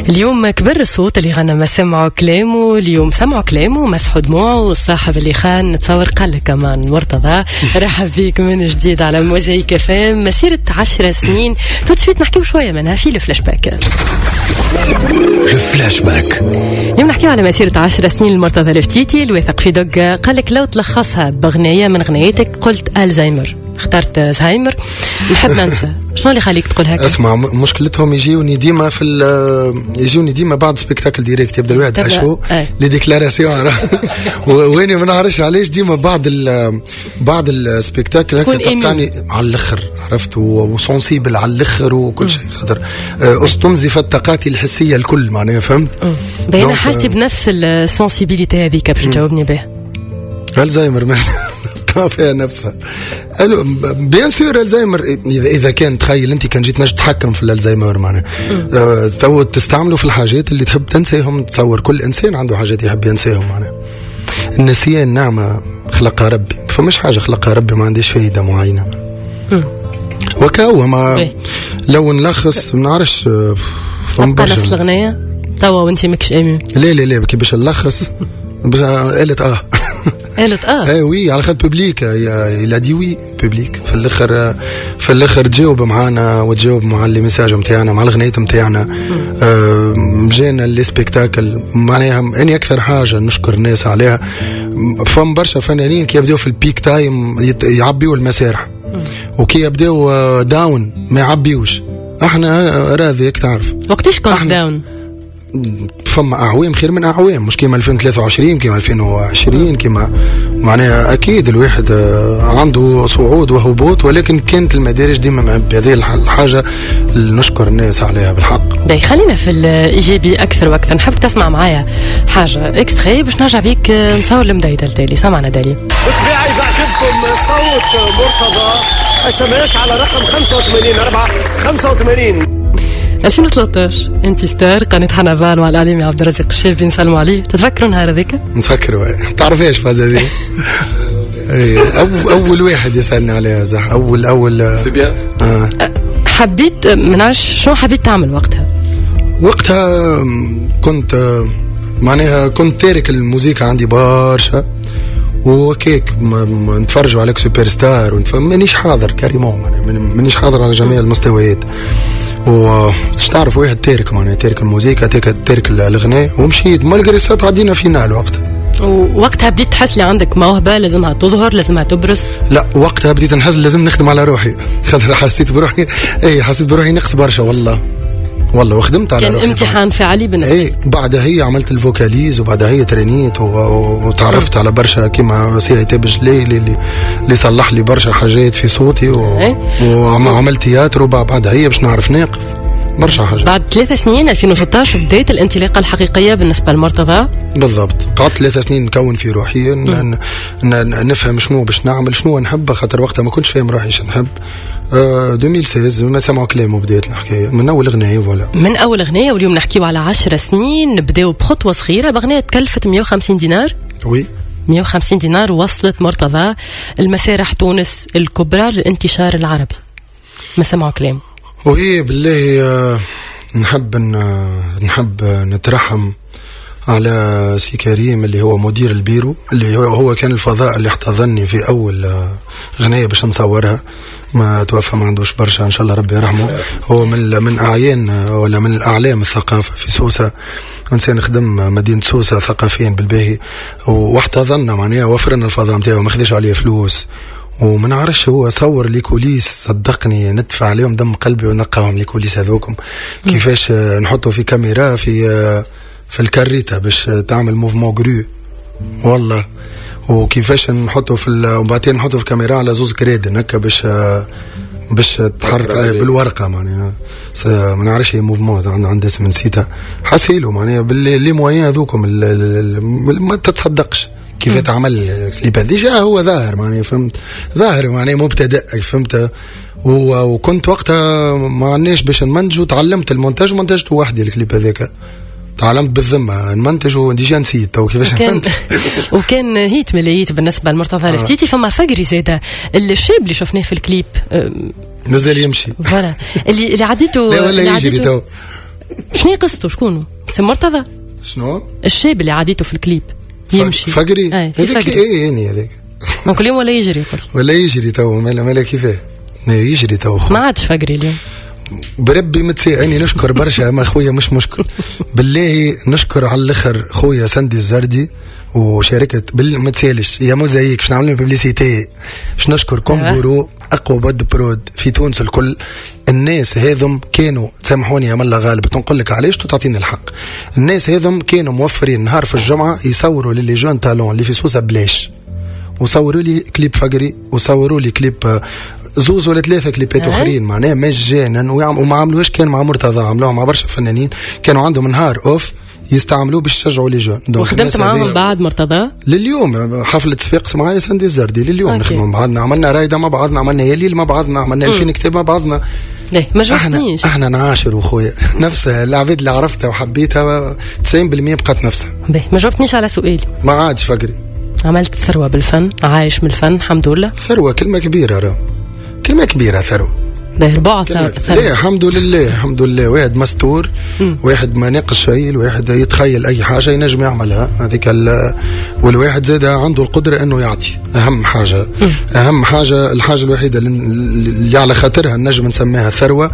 اليوم كبر الصوت اللي غنى ما سمعوا كلامه، اليوم سمعوا كلامه مسحوا دموعه، والصاحب اللي خان نتصور قال لك كمان. مرتضى، رحب بيك من جديد على موزايك اف ام. مسيرة 10 سنين tout de suite نحكيو شوية منها في الفلاش باك. الفلاش باك. اليوم نحكيو على مسيرة 10 سنين لمرتضى الفتيتي الواثق في دقة. قال لك لو تلخصها بغنية من غنيتك قلت الزهايمر، اخترت زهايمر، نحب ننسى. شنو اللي خليك تقول هكا؟ اسمع، مشكلتهم يجيوني ديما في يجوني ديما بعد spectacle direct، يبدا الواحد à chaud les déclarations، واني ما نعرفش علاش ديما بعد ال spectacle هكا تقطعني على الاخر، عرفت، و sensible على الاخر وكل شيء، خاطر استنزفت طاقاتي الحسية الكل معناها، فهمت؟ بين حاجتي بنفس ال sensibilité هذيك باش تجاوبني به. الزهايمر فيها نفسها، bien sûr الزهايمر. اذا كان تخيل انت كان جيت نجم تتحكم في الالزهايمر معناها تو تستعمله في الحاجات اللي تحب تنساهم. تصور كل انسان عنده حاجات يحب ينساهم، معناها النسيان نعمه خلقها ربي، فمش حاجة خلقها ربي ما عنديش فايده معينة وكاو. ما لو نلخص ما نعرفش. نفس الاغنية توا وانت ماكش ému؟ لا لا لا، كي باش نلخص قالت اه. قالت اه. ايه oui، على خاطر public il a dit oui، public في الاخر، في الاخر تجاوب معانا وتجاوب مع les messages نتاعنا، مع الغنيات نتاعنا. جانا les spectacles، معناها اني اكثر حاجة نشكر الناس عليها، فما برشا فنانين كي يبداو في ال peak time يعبيو المسارح، وكي يبداو down ما يعبيوش. احنا راضيك تعرف. وقتاش كنت down؟ فما اعوام خير من اعوام، مش كيما 2023، كيما 2020، كيما معناها اكيد الواحد عنده صعود وهبوط، ولكن كانت المدارج ديما معبي. هذه الحاجة اللي نشكر الناس عليها بالحق. باهي، خلينا في الايجابي اكثر واكثر. نحب تسمع معايا حاجة extrait باش نرجع بيك نصور المدايده التالي. سمعنا دالي. بالطبيعة اذا عجبكم صوت مرتضى SMS على رقم 85 4 85. 2013 انت star قناة حنبال مع الاعلامي عبد الرزاق الشابي، نسلموا عليه. تتفكروا النهار هذاك؟ نتفكروا. تعرفيش فاز هذه؟ اول واحد يسالني عليها صح، اول اول. c'est bien. آه. حبيت ما نعرفش شنو حبيت تعمل وقتها؟ وقتها كنت معناها كنت تارك الموسيقى عندي برشا وكيك نتفرجوا عليك سوبر ستار، مانيش حاضر carrément، مانيش حاضر على جميع المستويات. و تعرف واحد تارك معناها تارك الموسيقى، تارك الغناء، ومشيت malgré ça تعدينا finale وقتها. ووقتها بديت تحس اللي عندك موهبة لازمها تظهر، لازمها تبرز؟ لا، وقتها بديت نحس لازم نخدم على روحي، خاطر حسيت بروحي، اي حسيت بروحي نقص برشا والله والله، وخدمت على كان روحي. امتحان فعلي بالنسبة اي، بعدها هي عملت ال vocalise، وبعدها هي ترينيت وتعرفت على برشا كيما سي عتاب جليل اللي صلح لي برشا حاجات في صوتي وعملت تياتر، وبعدها هي باش نعرف ناقف برشا حاجات. بعد 3 سنين، 2016، بداية الانطلاقة الحقيقية بالنسبة لمرتضى. بالضبط، قعدت 3 سنين نكون في روحي، نفهم شنو باش نعمل، شنو نحب، خاطر وقتها ما كنتش فاهم روحي شنو نحب. 2016 ما سمعوا كلامه بداية الحكاية من أول أغنية، voilà. من أول أغنية. واليوم نحكيو على 10 سنين. نبداو بخطوة صغيرة، بأغنية تكلفت 150 دينار. oui. 150 دينار وصلت مرتضى المسارح تونس الكبرى للانتشار العربي، ما سمعوا كلام. وهي بالله نحب نترحم على سي كريم اللي هو مدير البيرو، اللي هو كان الفضاء اللي احتضنني في اول غنية باش نصورها. ما توفى ما عندوش برشا، ان شاء الله ربي يرحمه. هو من اعيان ولا من الاعلام الثقافة في سوسه، انسان خدم مدينة سوسة ثقافيا بالباهي، واحتضنا معناها وفرنا الفضاء نتاعو، ما خدش عليه فلوس. وما نعرفش هو صور les coulisses، صدقني ندفع عليهم دم قلبي ونلقاهم les coulisses هذوكم، كيفاش نحطوا في كاميرا في الكاريتا باش تعمل mouvement grue والله، وكيفاش نحطوا في وبعدين نحطوا في كاميرا على زوز كريدن هكا باش تحرك بالورقة معناها، ما نعرفش هي mouvement عند اسم نسيتها. حسيلو معناها ب les moyens هذوكم ما تتصدقش كيف تعمل ال clip. déjà هو ظاهر معناها، فهمت، ظاهر معناها مبتدئ، فهمت. وكنت وقتها ما عندناش باش نمنتجو، تعلمت المونتاج ومنتجته وحدي الكليب هذاك، تعلمت بالذمه نمنتج و déjà نسيت تو كيفاش. وكان hit من les hits بالنسبة لمرتضى الفتيتي. فما فقري زاده الشاب اللي شفناه في الكليب. مازال يمشي. voilà، اللي عديته. لا ولا يجري تو. شنو قصته؟ شكونه؟ سي مرتضى؟ شنو؟ الشاب اللي عاديته في الكليب يمشي فقري هذاك. اي يعني هذاك كل يوم ولا يجري؟ ولا يجري تو، مالا كيفاه يجري تو. ما عادش فقري اليوم بربي متساعني. نشكر برشا اما خويا مش مشكل بالله، نشكر على الاخر خويا سندي الزردي وشركه ما تسالش يا موزايك باش نعمل publicité، باش نشكر كونغورو اقوى boîte de prod في تونس الكل. الناس هذم كانوا، سامحوني يا ملا غالب تنقول لك علاش تعطيني الحق، الناس هذم كانوا موفرين نهار في الجمعة يصوروا ل les jeunes talents اللي في سوسة بلاش، وصوروا لي كليب فقري وصوروا لي كليب زوز ولا ثلاثة كليبات اخرين معناها مجانا، وما عملوش كان مع مرتضى، عملوها مع برشا فنانين كانوا عندهم نهار off يستعملوه باش يشجعوا les jeunes. وخدمت معاهم بعد مرتضى؟ لليوم حفلة صفاقس معايا سندي الزردي لليوم نخدموا مع بعضنا، عملنا رايده مع بعضنا، عملنا يليل مع بعضنا، عملنا 2000 كتاب مع بعضنا. ليه ما جاوبتنيش؟ احنا نعاشر وخويا نفس العباد اللي عرفتها وحبيتها 90% بقات نفسها. باهي ما جاوبتنيش على سؤالي. ما عادش فقري. عملت ثروة بالفن، عايش من الفن الحمد لله. ثروة كلمة كبيرة، راه كلمة كبيرة ثروة. باهي ربع ثروة. لا الحمد لله الحمد لله، واحد مستور، واحد ما ناقص شيء، الواحد يتخيل اي حاجة ينجم يعملها هذيك، والواحد زاد عنده القدرة انه يعطي. اهم حاجة اهم حاجة، الحاجة الوحيدة اللي على خاطرها نجم نسميها ثروة،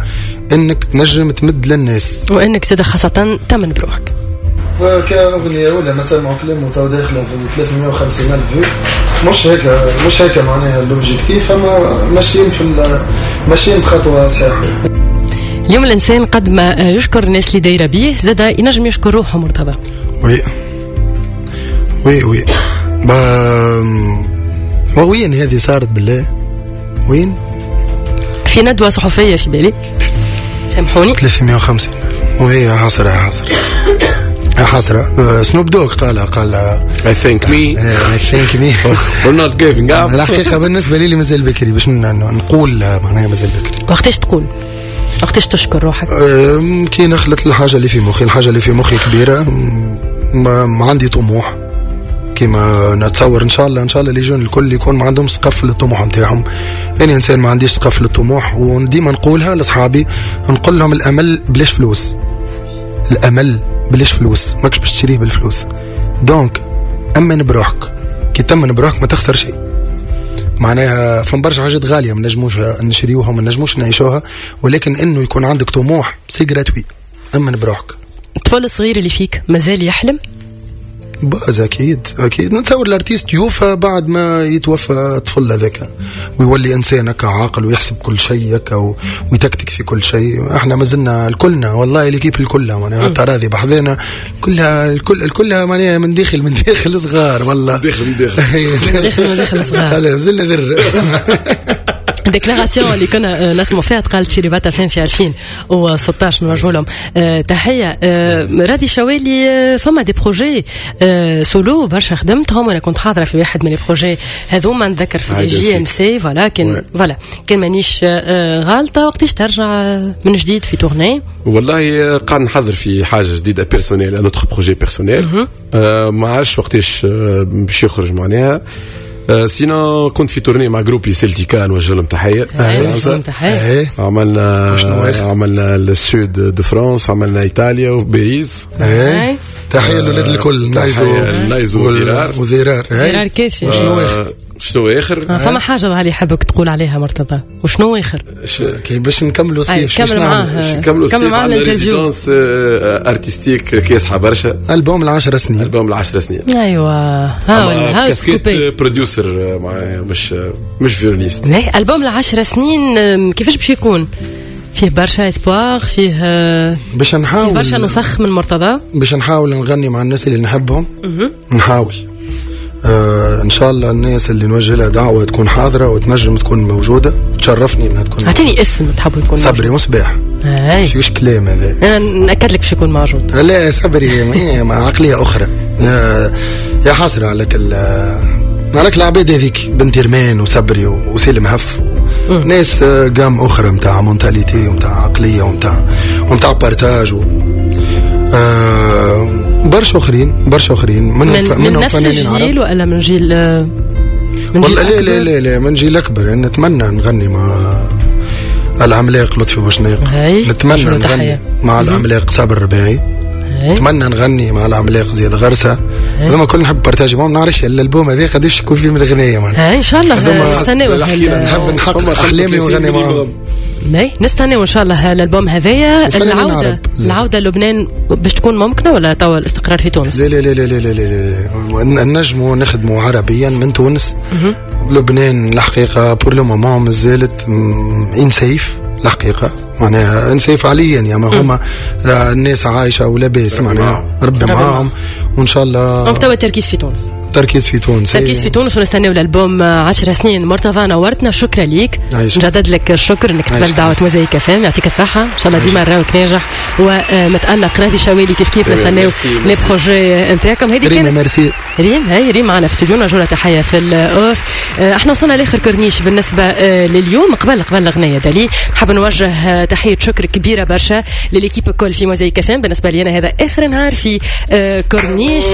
انك تنجم تمد للناس، وانك زاد خاصة تمن بروحك. كأغنية ولا مثلا مع كلام تو داخلة في 350 ألف vues، مش هيك مش هيك معناها l'objectif، اما ماشيين في ماشيين بخطوة صحيحة. اليوم الإنسان قد ما يشكر الناس اللي دايرة بيه زاد ينجم يشكر روحه مرتضى. oui oui oui وين هذه صارت بالله؟ وين؟ في ندوة صحفية في بالي، سامحوني. 350 ألف وهي حسرة حسرة حسرة. سنوب دوغ قال I think me I think me we're not giving up. الحقيقة بالنسبة لي مازال بكري باش نقول معناها مازال بكري. وقتاش تقول؟ وقتاش تشكر روحك؟ كي نخلط الحاجة اللي في مخي، الحاجة اللي في مخي كبيرة، ما عندي طموح كيما نتصور. ان شاء الله ان شاء الله les jeunes الكل يكون ما عندهم سقف للطموح نتاعهم. انا انسان ما عنديش سقف للطموح، وديما نقولها لاصحابي، نقول لهم الامل بلاش فلوس، الامل بلاش فلوس، ماكش باش تشريه بالفلوس. donc امن بروحك، كي تمن بروحك ما تخسر شيء. معناها فما برشا حاجات غالية ما نجموش نشريوها وما نجموش نعيشوها، ولكن انه يكون عندك طموح c'est gratuit. امن بروحك. الطفل الصغير اللي فيك مازال يحلم؟ باز اكيد اكيد. نتصور l'artiste يوفى بعد ما يتوفى الطفل هذاك ويولي انسان هكا عاقل ويحسب كل شيء هكا ويتكتك في كل شيء. احنا مازلنا الكلنا والله l'équipe الكلها معناها حتى راضي بحذانا كلها الكل كلها معناها من داخل من داخل صغار والله، من داخل من داخل صغار مازلنا ذر. déclaration اللي كنا نسمعوا فيها تقالت في رباط 2000 في 2016، نوجه لهم تحية. راضي شوالي، فما des projets solo برشا خدمتهم، وانا كنت حاضره في واحد من les projets هذوما، نذكر في JMC voilà، كان voilà كان مانيش غالطه. وقتاش ترجع من جديد في tournée؟ والله قاعد نحضر في حاجة جديدة personnelle، un autre projet personnel، ما عرفتش وقتاش باش يخرج معناها. sinon كنت في tournée مع groupe سيلتيكا، نوجه لهم تحية. عملنا ال sud de France، عملنا ايطاليا وباريس. تحية للولاد الكل، نايزو وذرار وذرار ذرار كيفي. شنو اخر؟ شنو اخر؟ فما حاجة ظهر يحبك تقول عليها مرتضى، وشنو اخر؟ كي باش نكملوا الصيف، باش نكملوا الصيف عندنا résidence artistique كاسحه برشا. البوم ال10 سنين، البوم ال10 سنين. ايوا ها casquette producteur مش violoniste. البوم ال10 سنين كيفاش باش يكون؟ فيه برشا espoir، فيه باش نحاول برشا نسخ من مرتضى، باش نحاول نغني مع الناس اللي نحبهم. نحاول ان شاء الله الناس اللي نوجه لها دعوه تكون حاضره وتنجم تكون موجودة، تشرفني انها تكون. اعطيني اسم تحبوا يكون. صبري مصباح. فيوش كلام هذا، انا ناكد لك باش يكون موجود. لا صبري مع عقلية اخرى. يا حسرة عليك عليك العباد هذيك، بنت رمان وصبري وسالم هف، ناس gamme اخرى نتاع mentalité ونتاع عقلية ونتاع partage برشا اخرين، برشا اخرين من نفس الجيل ولا من جيل؟ من جيل لا لا لا لا من جيل اكبر. يعني نتمنى نغني مع العملاق لطفي بوشناق، نتمنى نغني مع العملاق صابر الرباعي، نتمنى نغني مع العملاق زياد غرسه. هذوما كل نحب partager معهم. ما نعرفش الالبوم هذا قداش يكون فيه من الغنايه معناها. ان شاء الله نستناو، نحب نحقق احلامي ونغني معهم. نستناو ان شاء الله الالبوم هذايا. العودة لبنان باش تكون ممكنة ولا توا الاستقرار في تونس؟ لا لا لا لا لا لا، نجموا نخدموا عربيا من تونس. لبنان الحقيقة pour le moment مازالت unsafe الحقيقة، معناها unsafe فعليا يا ما هما الناس عايشه ولاباس معناها ربي معاهم وان شاء الله. donc توا التركيز في تونس. تركيز في تونس، تركيز في تونس، ونستناو الالبوم 10 سنين. مرتضى نورتنا، شكرا ليك، نجدد لك الشكر انك تقبل دعوه موزايك FM، يعطيك الصحة، ان شاء الله ديما نراوك ناجح ومتالق. راضي شوالي كيف كيف، نستناو les projets نتاعكم. هذه كانت ميرسي ريم، هاي ريم معنا في استوديو، نرجو لها تحية في ال off. احنا وصلنا لاخر كورنيش بالنسبة لليوم. قبل الاغنية دالي نحب نوجه تحية شكر كبيرة برشا ل l'équipe الكل في موزايك FM. بالنسبة لي انا هذا اخر نهار في كورنيش،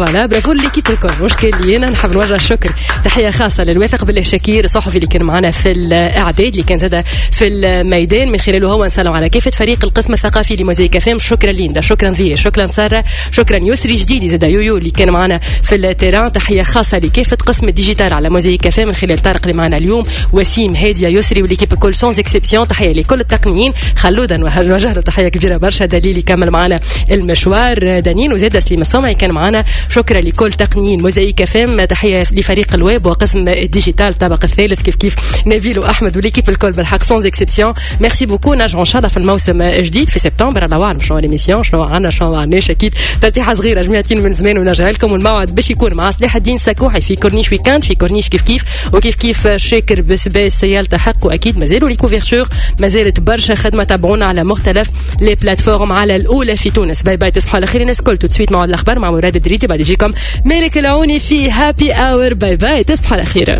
voilà bravo l'équipe الكل، مش كان لي انا. نحب نوجه الشكر تحية خاصة للواثق بالله شاكير الصحفي اللي كان معنا في الاعداد، اللي كان زاد في الميدان، من خلاله هو نسلم على كافة فريق القسم الثقافي لموزايك FM. شكرا ليندا، شكرا ذي، شكرا ساره، شكرا يسري جديدي زاد يويو اللي كان معنا في ال terrain. تحية خاصة لكافة قسم ال digital على موزايك FM من خلال طارق اللي معنا اليوم، وسيم، هادية، يسري و l'équipe الكل sans exception. تحية لكل التقنيين، خلودا نوجه له تحية كبيرة برشا، دليل يكمل معنا المشوار، دانين وزاد سليم الصومعي كان معنا. شكرا لكل تقنيين موزايك FM. تحية لفريق الويب وقسم ال digital الطابق الثالث كيف كيف نبيل واحمد و l'équipe الكل بالحق sans exception. merci beaucoup. نرجعوا ان شاء الله في الموسم الجديد في سبتمبر، الله اعلم شنو l'émission، شنو عندنا شنو ما عندناش. اكيد ترتيحه صغيرة جمعتين من زمان ونرجع لكم، والموعد باش يكون مع صلاح الدين سكوحي في كورنيش week-end، في كورنيش كيف كيف، وكيف كيف شاكر بسباس يلتحق، واكيد مازالوا les couvertures، مازالت برشا خدمة. تابعونا على مختلف les plateformes على الاولى في تونس. bye bye، تصبحوا على خير الناس الكل. tout de suite مع الاخبار مع مراد الدريدي، بعد يجيكم مالك العوني في Happy Hour. bye bye، تصبحوا على خير.